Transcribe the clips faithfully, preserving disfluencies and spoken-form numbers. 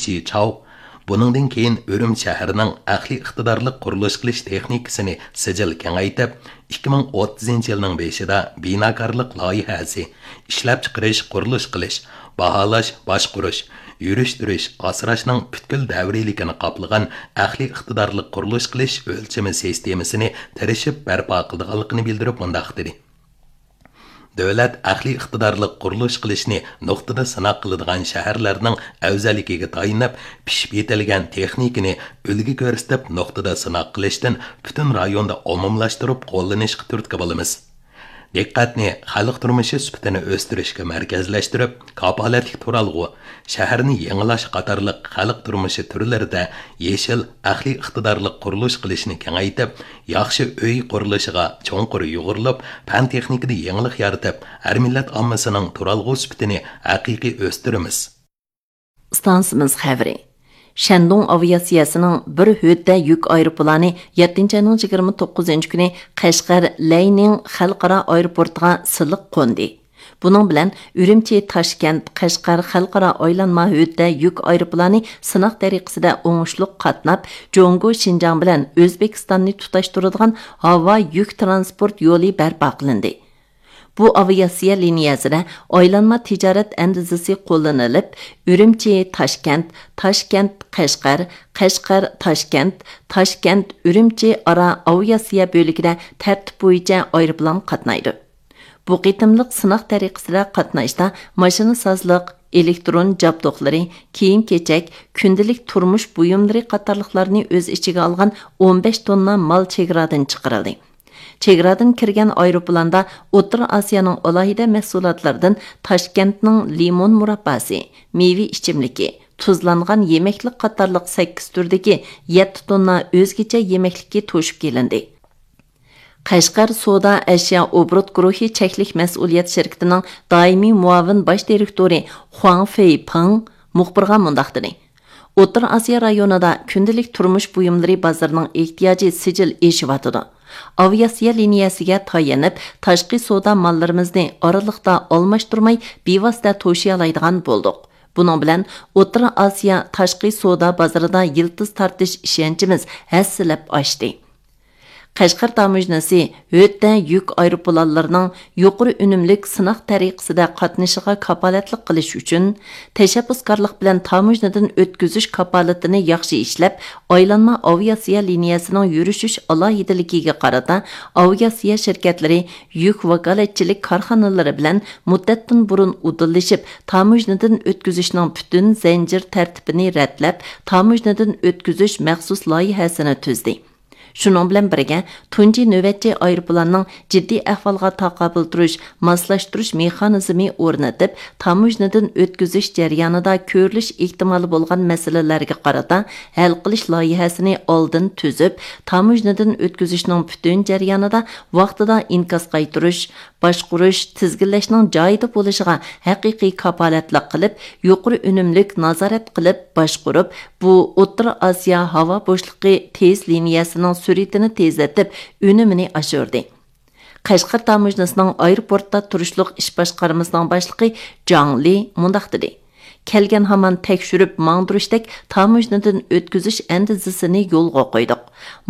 شى چاۋ بۇنىڭدىن كېيىن ئۈرۈمچى شەھىرىنىڭ ئەقلىي ئىقتىدارلىق قۇرۇلۇش قىلىش تېخنىكىسىنى سىجىل كېڭەيتىپ، ئىككى مىڭ ئوتتۇزىنچى يىلنىڭ بېشىدا بىناكارلىق لايىھەسى، ئىشلەپچىقىرىش، قۇرۇلۇش قىلىش، باھالاش، باشقۇرۇش، يۈرۈشتۈرۈش، ئاسراشنىڭ پۈتكۈل دەۋرىيلىكىنى قاپلىغان ئەقلىي ئىقتىدارلىق قۇرۇلۇش قىلىش ئۆلچىمى سىستېمىسىنى تىرىشىپ بەرپا قىلىدىغانلىقىنى بىلدۈرۈپ مۇنداق دېدى: دۆلەت ئەقلىي ئىقتىدارلىق قۇرۇلۇش قىلىشنى نۇقتىدا سىناق قىلىدىغان شەھەرلەرنىڭ ئەۋزەللىكىگە تايىنىپ، پىشىپ يېتىلگەن تېخنىكىنى ئۈلگە كۆرسىتىپ، نۇقتىدا سىناق قىلىشتىن پۈتۈن رايوندا ئومۇملاشتۇرۇپ قوللىنىشقا تۈرتكە بولىمىز. دىققەتنى خەلق تۇرمۇشى سۈپىتىنى ئۆستۈرۈشكە مەركەزلەشتۈرۈپ، كاپالەتلىك تۇرالغۇ، شەھەرنى يېڭىلاش قاتارلىق خەلق تۇرمۇشى تۈرلىرىدە يېشىل، ئەقلىي ئىقتىدارلىق قۇرۇلۇش قىلىشنى كېڭەيتىپ، ياخشى ئۆي قۇرۇلۇشىغا چوڭقۇر يۇغۇرۇلۇپ، پەن تېخنىكىدا يېڭىلىق يارىتىپ، ھەر مىللەت ئاممىسىنىڭ تۇرالغۇ سۈپىتىنى ھەقىقىي ئۆستۈرىمىز. ئىستانسىمىز خەۋىرى. شەندۇڭ ئاۋىئاتسىيەسىنىڭ بىر ھۆددە يۈك ئايروپىلانى يەتتىنچى ئاينىڭ يىگىرمە توققۇزىنچى كۈنى قەشقەر لەينىڭ خەلقئارا ئايروپورتىغا سىلىق قوندى. بۇنىڭ بىلەن ئۈرۈمچى تاشكەنت قەشقەر خەلقئارا ئايلانما ھۆددە يۈك ئايروپىلانى سىناق تەرىقىسىدە ئوڭۇشلۇق قاتناپ، جۇڭگو شىنجاڭ بىلەن ئۆزبېكىستاننى تۇتاشتۇرىدىغان ھاۋا يۈك ترانسپورت يولى بەرپا قىلىندى. بۇ ئاۋىئاتسىيە لىنىيەسىدە ئايلانما تىجارەت ئەندىزىسى قوللىنىلىپ، ئۈرۈمچى تاشكەنت، تاشكەنت قەشقەر، قەشقەر تاشكەنت، تاشكەنت ئۈرۈمچى ئارا ئاۋىئاتسىيە بۆلىكىدە تەرتىپ بويىچە ئايروپىلان قاتنايدۇ. بۇ قېتىملىق سىناق تەرىقىسىدە قاتناشتا ماشىنىسازلىق، ئېلېكترون جابدۇقلىرى، كىيىم-كېچەك، كۈندىلىك تۇرمۇش بۇيۇملىرى قاتارلىقلارنى ئۆز ئىچىگە ئالغان ئون بەش توننا مال چېگرادىن چىقىرىلدى. چېگرادىن كىرگەن ئايروپىلاندا ئوتتۇرا ئاسىيانىڭ ئالاھىدە مەھسۇلاتلىرىدىن تاشكەنتنىڭ لىمون مۇرابباسى، مېۋە ئىچىملىكى، تۇزلانغان يېمەكلىك قاتارلىق سەككىز تۈردىكى يەتتە توننا ئۆزگىچە يېمەكلىكى توشۇپ كېلىندى. قەشقەر سودا ئەشيا ئوبوروت گۇرۇھى چەكلىك مەسئۇلىيەت شىركىتىنىڭ دائىمىي مۇئاۋىن باش دىرېكتورى خۇاڭ فېيپىڭ مۇخبىرغا مۇنداق دېدى: ئوتتۇرا ئاسىيا رايونىدا كۈندىلىك تۇرمۇش بۇيۇملىرى بازىرىنىڭ ئېھتىياجى سىجىل ئېشىۋاتىدۇ. ئاۋىئاتسىيە لىنىيەسىگە تايىنىپ، تاشقى سودا ماللىرىمىزنى ئارىلىقتا ئالماشتۇرماي، بىۋاسىتە توشۇيالايدىغان بولدۇق. بۇنىڭ بىلەن ئوتتۇرا ئاسىيا تاشقى سودا بازىرىدا يىلتىز تارتىش ئىشەنچىمىز ھەسسىلەپ ئاشتى. قەشقەر تاموژنىسى ھۆددە يۈك ئايروپىلانلىرىنىڭ يۇقىرى ئۈنۈملۈك سىناق تەرىقىسىدە قاتنىشىشىغا كاپالەتلىك قىلىش ئۈچۈن، تەشەببۇسكارلىق بىلەن تاموژنىدىن ئۆتكۈزۈش كاپالىتىنى ياخشى ئىشلەپ، ئايلانما ئاۋىئاتسىيە لىنىيەسىنىڭ يۈرۈشۈش ئالاھىدىلىكىگە قارىتا، ئاۋىئاتسىيە شىركەتلىرى يۈك ۋاكالەتچىلىك كارخانىلىرى بىلەن مۇددەتتىن بۇرۇن ئۇدۇللىشىپ، تاموژنىدىن ئۆتكۈزۈشنىڭ پۈتۈن زەنجىر تەرتىپىنى رەتلەپ، تاموژنىدىن ئۆتكۈزۈش مەخسۇس لايىھەسىنى تۈزدى. شۇنىڭ بىلەن بىرگە، تۇنجى نۆۋەتچى ئايروپىلاننىڭ جىددىي ئەھۋالغا تاقابىل تۇرۇش، ماسلاشتۇرۇش مېخانىزمى ئورنىتىپ، تاموژنىدىن ئۆتكۈزۈش جەريانىدا كۆرۈلۈش ئېھتىمالى بولغان مەسىلىلەرگە قارىتا ھەل قىلىش لايىھەسىنى ئالدىن تۈزۈپ، تاموژنىدىن ئۆتكۈزۈشنىڭ پۈتۈن جەريانىدا ۋاقتىدا ئىنكاس قايتۇرۇش، باشقۇرۇش، تىزگىنلەشنىڭ جايىدا بولۇشىغا ھەقىقىي كاپالەتلىك قىلىپ، يۇقىرى ئۈنۈملۈك نازارەت قىلىپ باشقۇرۇپ، بۇ ئوتتۇرا ئاسىيا ھاۋا بوشلۇقى تېز لىنىيەسىنىڭ سۈرئىتىنى تېزلىتىپ، ئۈنۈمىنى ئاشۇردى. قەشقەر تاموژنىسىنىڭ ئايروپورتتا تۇرۇشلۇق ئىش باشقارمىسىنىڭ باشلىقى جاڭ لى مۇنداق دېدى: كەلگەن ھامان تەكشۈرۈپ ماڭدۇرۇشتەك تاموژنىدىن ئۆتكۈزۈش ئەندىزىسىنى يولغا قويدۇق.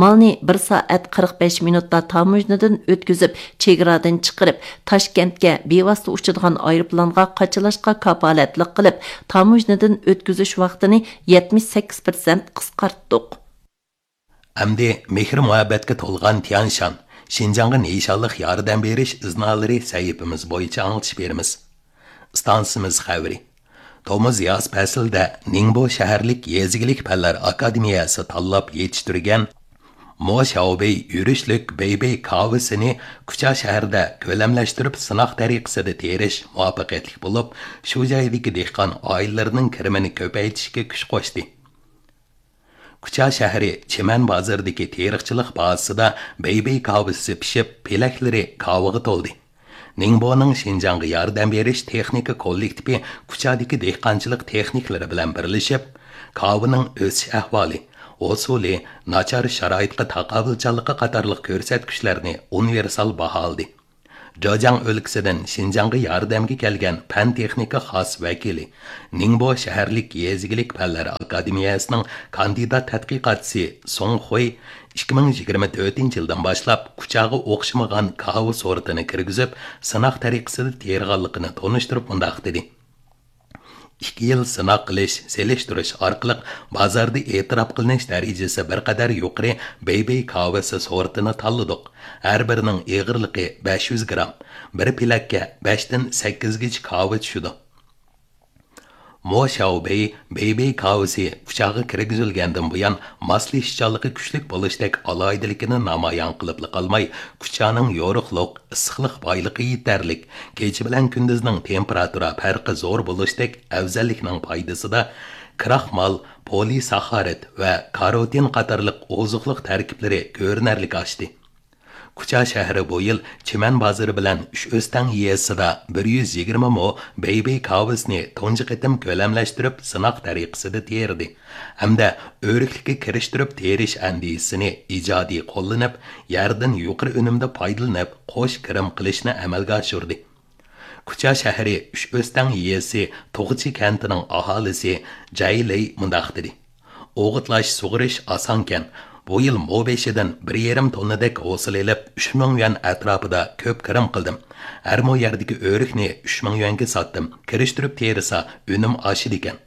مالنى بىر سائەت قىرىق بەش مىنۇتتا تاموژنىدىن ئۆتكۈزۈپ، چېگرادىن چىقىرىپ، تاشكەنتكە بىۋاسىتە ئۇچىدىغان ئايروپىلانغا قاچىلاشقا كاپالەتلىك قىلىپ، تاموژنىدىن ئۆتكۈزۈش ۋاقتىنى يەتمىش سەككىز پىرسەنت قىسقارتتۇق. ئەمدى مېھىر-مۇھەببەتكە تولغان تيەنشان، شىنجاڭغا نىشانلىق ياردەم بېرىش ئىزنالىرى سەھىپىمىز بويىچە ئاڭلىتىش بېرىمىز. ئىستانسىمىز خەۋىرى. تومۇز ياز پەسلىدە نىڭبو شەھەرلىك يېزا ئىگىلىك پەنلەر ئاكادېمىيەسى تاللاپ يېتىشتۈرگەن مو شياۋبېي يۈرۈشلۈك بېيبېي كاۋىسىنى كۇچا شەھىرىدە كۆلەملەشتۈرۈپ سىناق تەرىقىسىدە تېرىش مۇۋەپپەقىيەتلىك بولۇپ، شۇ جايدىكى دېھقان ئائىلىلىرىنىڭ كىرىمىنى كۆپەيتىشكە كۈچ قوشتى. كۇچا شەھىرى چىمەن بازىرىدىكى تېرىقچىلىق بازىسىدا بېيبېي كاۋىسى پىشىپ، پېلەكلىرى كاۋىغا تولدى. نىڭبونىڭ شىنجاڭغا ياردەم بېرىش تېخنىكا كوللېكتىپى كۇچادىكى دېھقانچىلىق تېخنىكلىرى بىلەن بىرلىشىپ، كاۋىنىڭ ئۆسۈش ئەھۋالى، ھوسۇلى، ناچار شارائىتقا تاقابىلچانلىقى قاتارلىق كۆرسەتكۈچلەرنى ئۇنىۋېرسال باھالىدى. جېجياڭ ئۆلكىسىدىن شىنجاڭغا ياردەمگە كەلگەن پەن-تېخنىكا خاس ۋەكىلى، نىڭبو شەھەرلىك يېزا ئىگىلىك پەنلەر ئاكادېمىيەسىنىڭ كاندىدات تەتقىقاتچىسى سۇڭ خۇي ئىككى مىڭ يىگىرمە تۆتىنچى يىلدىن باشلاپ كۇچاغا ئوخشىمىغان كاۋا سورتىنى كىرگۈزۈپ، سىناق تەرىقىسىدە تېرىغانلىقىنى تونۇشتۇرۇپ مۇنداق دېدى: «ئىككى يىل سىناق قىلىش، سېلىشتۇرۇش ئارقىلىق بازاردا ئېتىراپ قىلىنىش دەرىجىسى بىر قەدەر يۇقىرى بېيبېي كاۋىسى سورتىنى تاللىدۇق. ھەر بىرىنىڭ ئېغىرلىقى بەش يۈز گرام، بىر پېلەككە بەشتىن سەككىزگىچە كاۋا چۈشىدۇ.» مو شياۋبېي بېيبېي كاۋىسى كۇچاغا كىرگۈزۈلگەندىن بۇيان، ماسلىشىشچانلىقى كۈچلۈك بولۇشتەك ئالاھىدىلىكىنى نامايان قىلىپلا قالماي، كۇچانىڭ يورۇقلۇق، ئىسسىقلىق بايلىقى يېتەرلىك، كېچە بىلەن كۈندۈزنىڭ تېمپېراتۇرا پەرقى زور بولۇشتەك ئەۋزەللىكنىڭ پايدىسىدا كراخمال، پولىساخارىد ۋە كاروتىن قاتارلىق ئوزۇقلۇق تەركىبلىرى كۆرۈنەرلىك ئاشتى. كۇچا شەھىرى بۇ يىل چىمەن بازىرى بىلەن ئۈچ ئۆستەڭ يېزىسىدا بىر يۈز يىگىرمە مو بېيبېي كاۋىسىنى تۇنجى قېتىم كۆلەملەشتۈرۈپ، سىناق تەرىقىسىدە تېرىدى ھەمدە ئۆرۈكلۈككە كىرىشتۈرۈپ تېرىش ئەندىزىسىنى ئىجادىي قوللىنىپ، يەردىن يۇقىرى ئۈنۈمدە پايدىلىنىپ، قوش كىرىم قىلىشنى ئەمەلگە ئاشۇردى. كۇچا شەھىرى ئۈچ ئۆستەڭ يېزىسى توغچى كەنتىنىڭ ئاھالىسى جەي لېي مۇنداق دېدى: «ئوغۇتلاش، سۇغىرىش ئاسانكەن. بۇ يىل مو بېشىدىن بىر يېرىم توننىدەك ھوسۇل ئېلىپ، ئۈچ مىڭ يۈەن ئەتراپىدا كۆپ كىرىم قىلدىم. ھەر مو يەردىكى ئۆرۈكنى ئۈچ مىڭ يۈەنگە ساتتىم. كىرىشتۈرۈپ تېرىسا، ئۈنۈم ئاشىدىكەن.»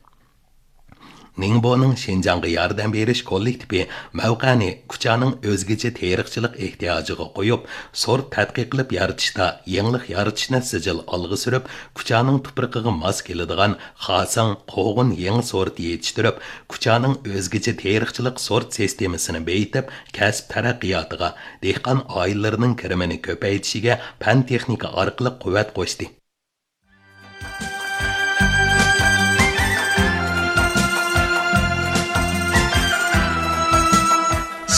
نىڭبونىڭ شىنجاڭغا ياردەم بېرىش كوللېكتىپى مەۋقەنى كۇچانىڭ ئۆزگىچە تېرىقچىلىق ئېھتىياجىغا قويۇپ، سورت تەتقىق قىلىپ يارىتىشتا يېڭىلىق يارىتىشنى سىجىل ئالغا سۈرۈپ، كۇچانىڭ تۇپرىقىغا ماس كېلىدىغان خاساڭ، قوغۇن يېڭى سورتى يېتىشتۈرۈپ، كۇچانىڭ ئۆزگىچە تېرىقچىلىق سورت سىستېمىسىنى بېيىتىپ، كەسىپ تەرەققىياتىغا، دېھقان ئائىلىلىرىنىڭ كىرىمىنى كۆپەيتىشىگە پەن-تېخنىكا ئارقىلىق قۇۋۋەت قوشتى.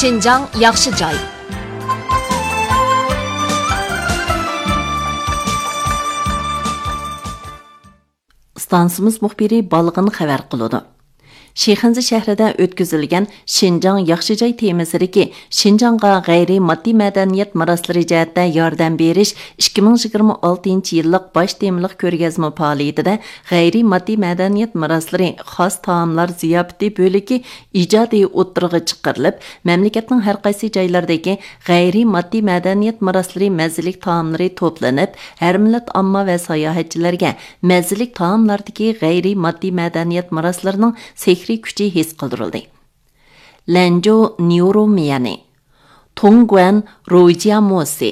شىنجاڭ ياخشى جاي. ئىستانسىمىز مۇخبىرى بالغىن خەۋەر قىلىدۇ. شىخەنزە شەھىرىدە ئۆتكۈزۈلگەن شىنجاڭ ياخشى جاي تېمىسىدىكى شىنجاڭغا غەيرىي ماددىي مەدەنىيەت مىراسلىرى جەھەتتە ياردەم بېرىش ئىككى مىڭ يىگىرمە ئالتىنچى يىللىق باش تېمىلىق كۆرگەزمە پائالىيىتىدە غەيرىي ماددىي مەدەنىيەت مىراسلىرى خاس تائاملار زىياپىتى بۆلىكى ئىجادىي ئوتتۇرىغا چىقىرىلىپ، مەملىكەتنىڭ ھەر قايسى جايلىرىدىكى غەيرىي ماددىي مەدەنىيەت مىراسلىرى مەززىلىك تائاملىرى توپلىنىپ، ھەر مىللەت ئامما ۋە ساياھەتچىلەرگە مەززىلىك تائاملاردىكى غەيرىي ماددىي مەدەنىيەت مىراسلىرىنىڭ سېھرىي كۈچى ھېس قىلدۇرۇلدى. لەنجۇ نيۇرۇ ميەنى، تۇڭگۇەن روجيا موسى،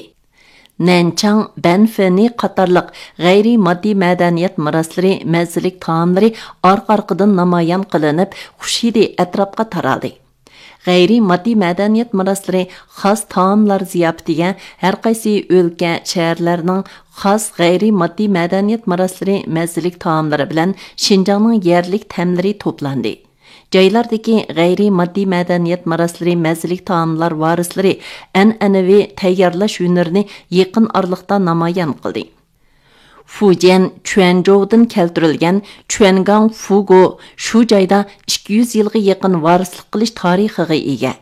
نەنچاڭ بەنفېنى قاتارلىق غەيرىي ماددىي مەدەنىيەت مىراسلىرى مەززىلىك تائاملىرى ئارقا-ئارقىدىن نامايان قىلىنىپ، خۇش ھىدى ئەتراپقا تارالدى. غەيرىي ماددىي مەدەنىيەت مىراسلىرى خاس تائاملار زىياپىتىگە ھەر قايسى ئۆلكە، شەھەرلەرنىڭ خاس غەيرىي ماددىي مەدەنىيەت مىراسلىرى مەززىلىك تائاملىرى بىلەن شىنجاڭنىڭ يەرلىك تەملىرى توپلاندى. جايلاردىكى غەيرىي ماددىي مەدەنىيەت مىراسلىرى مەززىلىك تائاملار ۋارىسلىرى ئەنئەنىۋى تەييارلاش ھۈنىرىنى يېقىن ئارىلىقتا نامايان قىلدى. فۇجيەن چۈەنجوۋدىن كەلتۈرۈلگەن چۈەنگاڭ فۇگو شۇ جايدا ئىككى يۈز يىلغا يېقىن ۋارىسلىق قىلىش تارىخىغا ئىگە.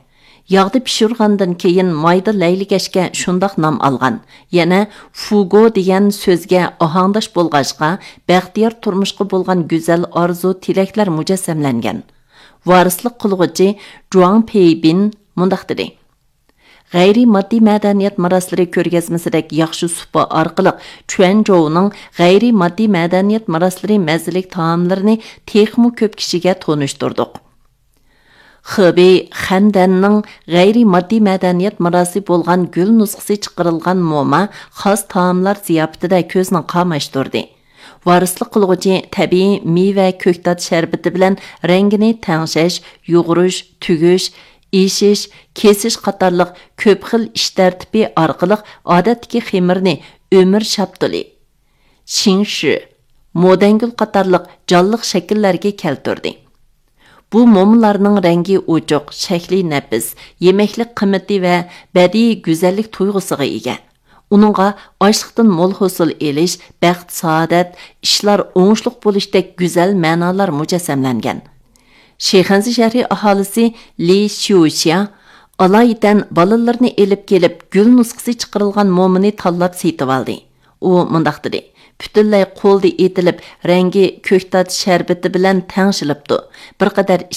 ياغدا پىشۇرغاندىن كېيىن مايدا لەيلىگەچكە شۇنداق نام ئالغان. يەنە فۇگو دېگەن سۆزگە ئاھاڭداش بولغاچقا، بەختىيار تۇرمۇشقا بولغان گۈزەل ئارزۇ تىلەكلەر مۇجەسسەملەنگەن. ۋارىسلىق قىلغۇچى جۇاڭ پېيبىن مۇنداق دېدى: غەيرىي ماددىي مەدەنىيەت مىراسلىرى كۆرگەزمىسىدەك ياخشى سۇپا ئارقىلىق چۈەنجوۋنىڭ غەيرىي ماددىي مەدەنىيەت مىراسلىرى مەززىلىك تائاملىرىنى تېخىمۇ كۆپ كىشىگە تونۇشتۇردۇق. خېبېي خەندەننىڭ غەيرىي ماددىي مەدەنىيەت مىراسى بولغان گۈل نۇسخىسى چىقىرىلغان موما خاس تائاملار زىياپىتىدە كۆزنى قاماشتۇردى. ۋارىسلىق قىلغۇچى تەبىئىي مېۋە، كۆكتات شەربىتى بىلەن رەڭگىنى تەڭشەش، يۇغۇرۇش، تۈگۈش، ئېشىش، كېسىش قاتارلىق كۆپ خىل ئىش تەرتىپى ئارقىلىق ئادەتتىكى خېمىرنى ئۆمۈر شاپتۇلى، شىڭشۈ، مودەنگۈل قاتارلىق جانلىق شەكىللەرگە كەلتۈردى. بۇ مومىلارنىڭ رەڭگى ئوچۇق، شەكلى نەپىس، يېمەكلىك قىممىتى ۋە بەدىئىي گۈزەللىك تۇيغۇسىغا ئىگە. ئۇنىڭغا ئاشلىقتىن مول ھوسۇل ئېلىش، بەخت-سائادەت، ئىشلار ئوڭۇشلۇق بولۇشتەك گۈزەل مەنالار مۇجەسسەملەنگەن. شىخەنزە شەھىرى ئاھالىسى لى شيۇشيا ئالايىتەن بالىلىرىنى ئېلىپ كېلىپ، گۈل نۇسخىسى چىقىرىلغان مومىنى تاللاپ سېتىۋالدى. ئۇ مۇنداق دېدى: پۈتۈنلەي قولدا ئېتىلىپ، رەڭگى كۆكتات شەربىتى بىلەن تەڭشىلىپتۇ. بىر قەدەر